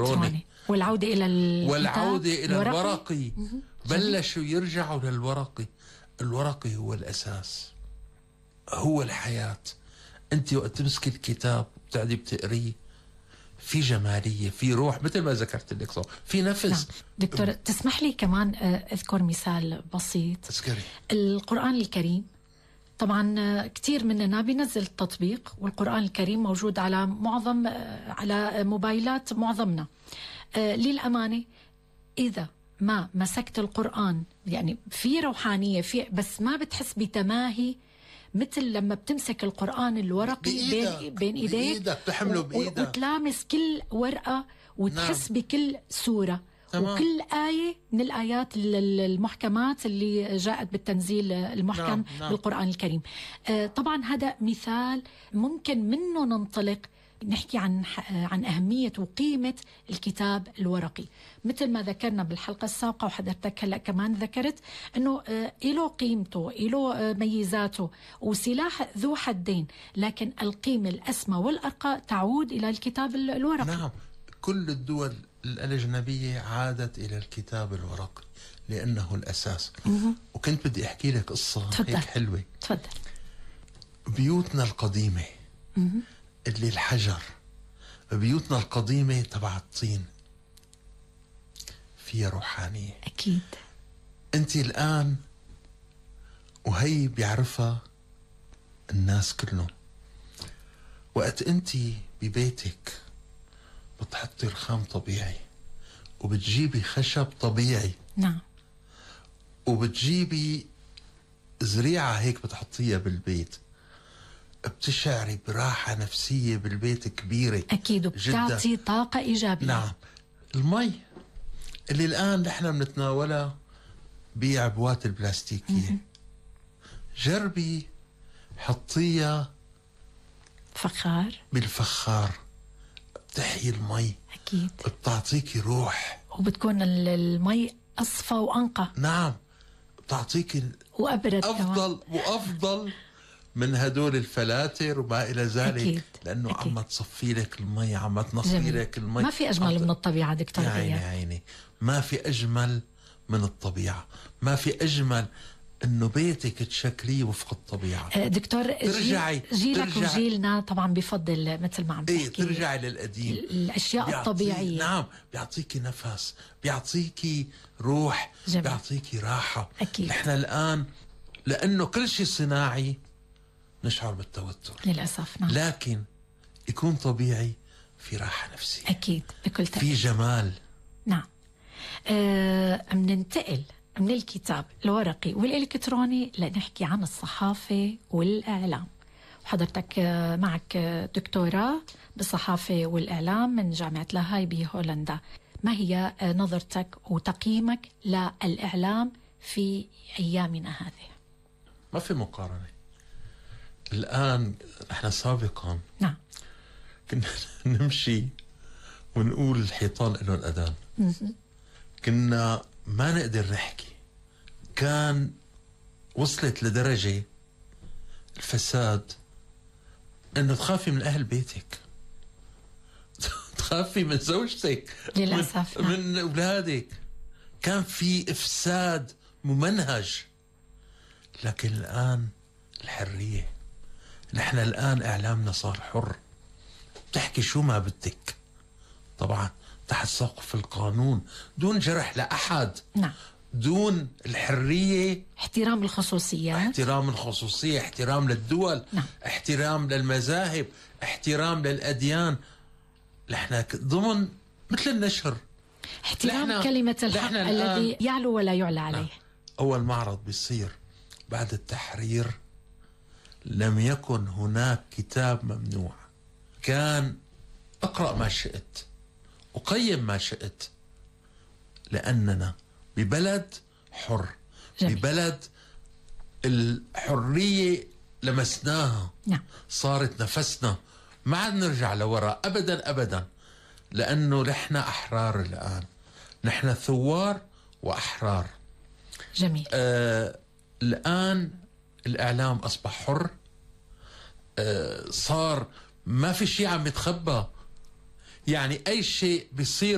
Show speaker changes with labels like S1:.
S1: الإلكتروني والعودة إلى
S2: الورقي. بلشوا يرجعوا للورقي. الورقي هو الأساس، هو الحياة. أنت وقت تمسك الكتاب بتقعدي بتقريه، في جمالية، في روح، مثل ما ذكرت لك، في نفس.
S1: نعم. دكتور تسمح لي كمان أذكر مثال بسيط.
S2: تذكري
S1: القرآن الكريم طبعا كتير مننا بينزل التطبيق، والقرآن الكريم موجود على على موبايلات معظمنا. للأمانة إذا ما مسكت القرآن يعني في روحانية بس ما بتحس بتماهي مثل لما بتمسك القرآن الورقي بين إيديك
S2: تحمله بإيدك
S1: وتلامس كل ورقة وتحس
S2: نعم.
S1: بكل سورة.
S2: تمام.
S1: وكل آية من الآيات المحكمات اللي جاءت بالتنزيل المحكم.
S2: نعم.
S1: بالقرآن الكريم. طبعا هذا مثال ممكن منه ننطلق نحكي عن أهمية وقيمة الكتاب الورقي، مثل ما ذكرنا بالحلقة السابقة، وحضرتك هلأ كمان ذكرت أنه له قيمته، له ميزاته، وسلاح ذو حدين، لكن القيمة الأسمى والأرقى تعود إلى الكتاب الورقي.
S2: نعم. كل الدول الأجنبية عادت إلى الكتاب الورقي لأنه الأساس. وكنت بدي أحكي لك قصة هيك حلوة.
S1: تفضل.
S2: بيوتنا القديمة اللي الحجر، بيوتنا القديمة تبع الطين، فيها روحانية
S1: أكيد.
S2: أنت الآن، وهي بيعرفها الناس كلهم، وقت أنت ببيتك بتحطي رخام طبيعي، وبتجيبي خشب طبيعي.
S1: نعم.
S2: وبتجيبي زريعة هيك بتحطيها بالبيت، بتشعري براحة نفسية بالبيت كبيرة.
S1: أكيد. وبتعطي طاقة إيجابية.
S2: نعم. المي اللي الآن نحن بنتناولها بعبوات البلاستيكية، جربي حطيها
S1: فخار
S2: بالفخار، بتحيي المي.
S1: أكيد.
S2: بتعطيكي روح،
S1: وبتكون المي أصفى وأنقى.
S2: نعم. بتعطيكي
S1: وأبرد
S2: وأفضل من هدول الفلاتر وما إلى ذلك.
S1: أكيد.
S2: لأنه
S1: أكيد.
S2: عم تصفي لك المي، عم تنصفي لك المي.
S1: ما في أجمل من الطبيعة دكتور.
S2: يا عيني ما في أجمل من الطبيعة، ما في أجمل إنه بيتك تشكليه وفق الطبيعة.
S1: دكتور جيلك وجيلنا طبعا بفضل مثل ما عم تحكي
S2: ترجعي للقديم،
S1: الأشياء الطبيعية.
S2: نعم. بيعطيكي نفس، بيعطيكي روح،
S1: جميل.
S2: بيعطيكي راحة.
S1: أكيد.
S2: نحن الآن لأنه كل شيء صناعي نشعر بالتوتر
S1: للأسف. نعم.
S2: لكن يكون طبيعي، في راحة نفسية.
S1: أكيد بكل تأكيد.
S2: في جمال.
S1: نعم. مننتقل من الكتاب الورقي والإلكتروني لنحكي عن الصحافة والإعلام. وحضرتك معك دكتوراه بالصحافة والإعلام من جامعة لاهاي بهولندا. ما هي نظرتك وتقييمك للإعلام في أيامنا هذه؟
S2: ما في مقارنة. الآن احنا سابقا
S1: نعم
S2: كنا نمشي ونقول الحيطان له الأذان. كنا ما نقدر نحكي. كان وصلت لدرجة الفساد انه تخافي من اهل بيتك، تخافي من زوجتك،
S1: للأسف.
S2: من اولادك. كان في افساد ممنهج. لكن الان الحرية. نحن الان اعلامنا صار حر، بتحكي شو ما بدك، طبعا تحت سقف القانون، دون جرح لأحد.
S1: نعم.
S2: دون الحرية،
S1: احترام الخصوصيات،
S2: احترام الخصوصية، احترام للدول.
S1: نعم.
S2: احترام للمذاهب، احترام للأديان. نحن ضمن مثل النشر،
S1: احترام كلمة الحق الذي يعلو ولا يعلى عليه.
S2: أول معرض بيصير بعد التحرير لم يكن هناك كتاب ممنوع. كان اقرأ ما شئت وقيم ما شئت، لأننا ببلد حر.
S1: جميل.
S2: ببلد الحرية لمسناها.
S1: نعم.
S2: صارت نفسنا، ما عاد نرجع لوراء أبدا أبدا، لأنه نحن أحرار الآن. نحن ثوار وأحرار.
S1: جميل.
S2: الآن الإعلام أصبح حر. صار ما في شيء عم يتخبى. يعني أي شيء بيصير